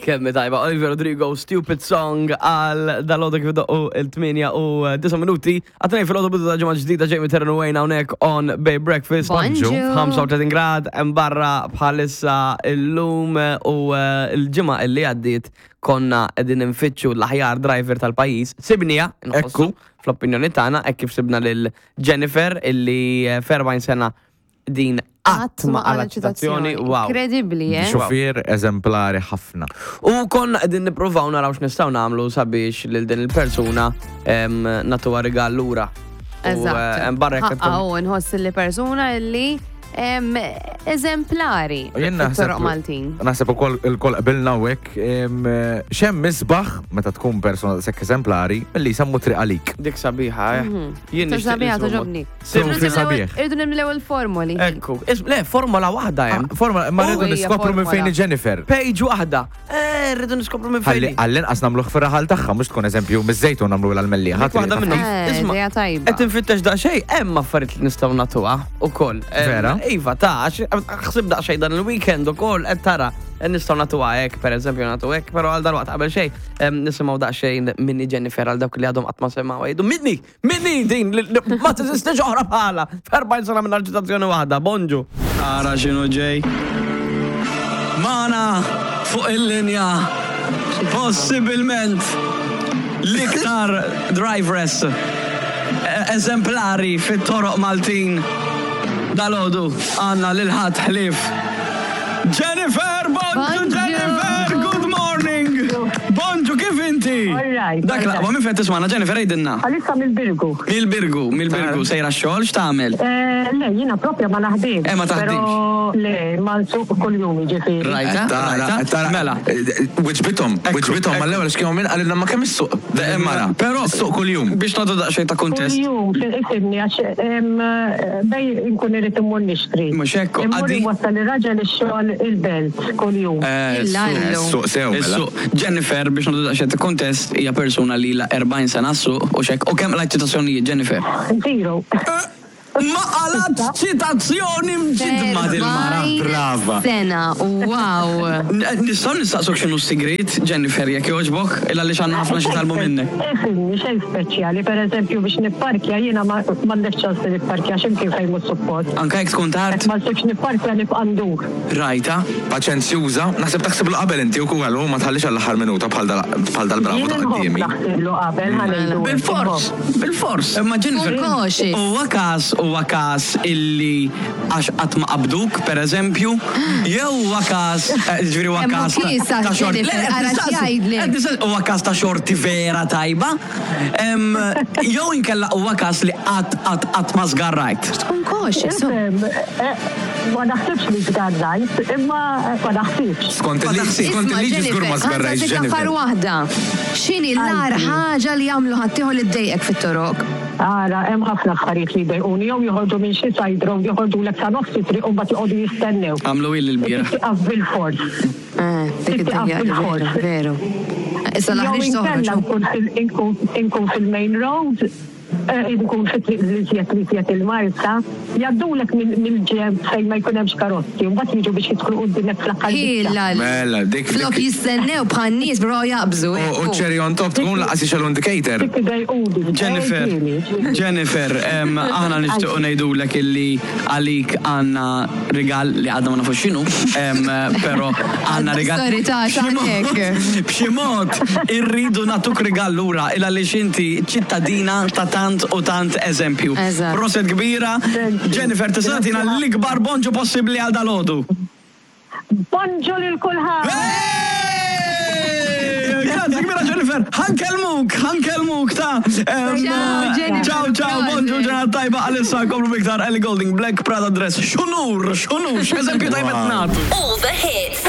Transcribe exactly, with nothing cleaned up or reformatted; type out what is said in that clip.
Kemm tajba, Olivia Rodrigo, "Stupid Song" għal dalgħodu kif doqqu it-tmienja u disa' minuti. Għat-tnejn filgħodu, bidu ta' ġimgħa ġdida, Jamie Terran Wayne hawnhekk on Bay Breakfast. Bonġu. ħamsa u tletin grad, hemm barra bħalissa illum u eh, l-ġimgħa illi għaddiet konna qegħdin nfittxu l-aħjar driver tal-pajjiż. Sibnieha, nħossu, fl-opinjoni tagħna, hekk kif sibna lil Jennifer illi eh, f'erbgħin sena din qatt ma qalgħet ċitazzjoni. Wow. Incredibli, eh? Xufier eżemplari ħafna. U konna qegħdin nippruvaw naraw x'nistgħu nagħmlu sabiex lil din il-persuna em, nagħtuha rigal lura. U, Eżatt. eh, em, barra jekk Ħaqqa u nħoss li persuna li em, eżemplari U jien naħseb- fit-toroq Maltin. Naħseb ukoll il-koll qbilna u hekk em, x'hemm isbaħ meta tkun persona sekk eżemplari milli jsemmu triq għalik. Dik sabiħa, eh. Jien nixtieq Sabiħa nisma' togħġobni. Trunfi sabiħ. Irridu nimlew il-formoli. Ekku, is- le, formola waħda hemm. Ah, Forma, ma rridu Oh, hija niskopru minn fejn formola. Jennifer. Page waħda. Eh, rridu niskopru minn Ħalli fejn. għall-inqas nagħmluh fir-raħal tagħha, mhux tkun eżempju miż-Żejtun nagħmlu l-Mellieħa. Dik waħda minnhom. Eh, Isma', idea tajba. qed infittex daqsxejn, hemm affarijiet li nistgħu nagħtuha ukoll. Em, Vera? Iva, ta' għax ħsib daqsxejn dan il-weekend ukoll qed tara nistgħu nagħtuha hekk, pereżempju nagħtu hekk, però għal dalwaqt qabel xejn em, nisimgħu daqsxejn minni Jennifer għal dawk li għadhom qatt ma semgħu jgħidu minni, minni din li- li ma teżistix oħra bħala. F'erbgħin sena minn ċitazzjoni waħda, bonġu. Ara x'inhu ġej. Magħna fuq il-linja possibilment l-iktar driveress eżemplari fit-toroq Maltin dalgħodu, għandna lil ħadd ħlief Jennifer, bonġu. Bonġu. Jennifer, good morning. Bonġu, kif inti? All right, Dak all laqwa, right. minn fejn tismagħna, Jennifer, għidilna? Għalissa mill-Birgu. Mill-Birgu, mill-Birgu, sejra xogħol, x'tagħmel? Eh, Le, jiena propja ma naħdimx. Eh, ma taħdimx. Pero le, ma nsuq kull-jum ġifieri. Rajta, rajta, mela. Wiġbithom, wiġbithom, mal-ewwel x'kienu minn qalilna ma kemm issuq. Mara, Però issuq kuljum. Biex nagħtu daqsxejn ta' kuntest. Kull-jum, ifhimni, għax em, bej nkun irrid immur nixtri. Mhux hekk, Immur għaddi- inwassal ir-raġel ix-xogħol il-Belt kull-jum. Eh, Illallu. Suq sew, mela. Is-suq. Jennifer, biex nagħtu daqsxejn ta' kuntest, hija persuna li la erbgħin sena s-suq u xek. U kemm qlajt ċitazzjonijiet, Jennifer? Zero. Ma qalgħet ċitazzjoni mġidma dil-mara. Erbgħin Brava. sena, wow. Nistgħu nistaqsuk x'inhu s-sigrit, Jennifer, jekk jogħġbok, illa li għandna ħafna xi talbu minnek. Ifhimni, xejn speċjali, per eżempju biex nipparkja jiena ma m'għandek ċans li nipparkja x'imkien fejn mhux suppost. Anka jekk tkun tard, Ma nsibx nipparkja, nibqa' ndur. Rajta. Paċenzjuża, naħseb taħsiblu qabel inti u kull ma tħallix għall-aħħar minuta bħal dal- bħal dal-bravo Jien ta' nħobb quddiemi. naħsiblu qabel, ħa ngħidu. Bil-fors, bil-fors. Imma Jennifer, Tkun cautious. huwa każ huwa każ illi għax qatt ma qabduk, per eżempju, jew huwa każ, eh, ġifieri huwa Hemm każ ta' kisa, ta' xorti. Jennifer, Le, qed ara nistaqsi, x'jgħidlek. qed nistaqsi, huwa każ ta' xorti vera tajba, em, jew inkella huwa każ li qatt qatt qatt ma żgarrajt. Tkun cautious. oh. Ifhem, eh, ma naħsibx li żgarrajt, imma eh, ma naħsibx. Skont Ma il-liġi, taħsibx. skont Isma' il-liġi żgur ma Jennifer, żgarrajx ħa nsaqsik Jennifer. aħħar waħda. X'inhi l-agħar ħaġa li jagħmlu ħaddieħor li ddejqek fit-toroq? Ara, hemm ħafna affarijiet li jdejquni, jew joħorġu minn xi side road, joħorġu lek sa nofs it-triq u mbagħad joqogħdu jistennew. Għamlu il l-bieraħ. Tieqaf bil-fors. Eh, dik Tieqaf id-dinja, bil-fors. veru, veru. Issa Jew l-aħriġ inkella toħroġ. nkun fil- inkun- inkun fil-main road, eh, inkun fit-triq li żjed li żjed il-Marsa, jgħaddulek mill-ġenb fejn ma jkun hemmx karozzi, u mbagħad jiġu biex jidħlu quddiemek fl-aħħar biċċa. Illa. Mela, dik- Flok dik- jistennew bħal nies bro jaqbżu. U u cherry on top tkun lanqas jixgħelu indicator. Dik idejquni. Jennifer, Eh, Jennifer, em, aħna nixtiequ ngħidulek illi għalik għandna rigal li għadna ma nafux x'inhu, em, però għandna rigal. Sorry, ta' B'xi mod- x'għandek? B'xi mod irridu nagħtuk rigal lura illa li inti ċittadina ta' tant u tant eżempju. Eżatt. Proset kbira, Jennifer, tista' tagħtina l-ikbar bonġu possibbli għal dalgħodu. Bonġu lil kulħadd. Hey! Grazzi kbira, Jennifer, ħa nkellmuk, ħa nkellmuk ta' em, Ciao, Jennifer. Ciao, ciao, bonġu, ġurnata tajba. Għalissa komplu biktar Ellie Goulding, "Black Prada Dress". X'unur, x'unur, x'eżempju tajbet nagħtu. All the hits.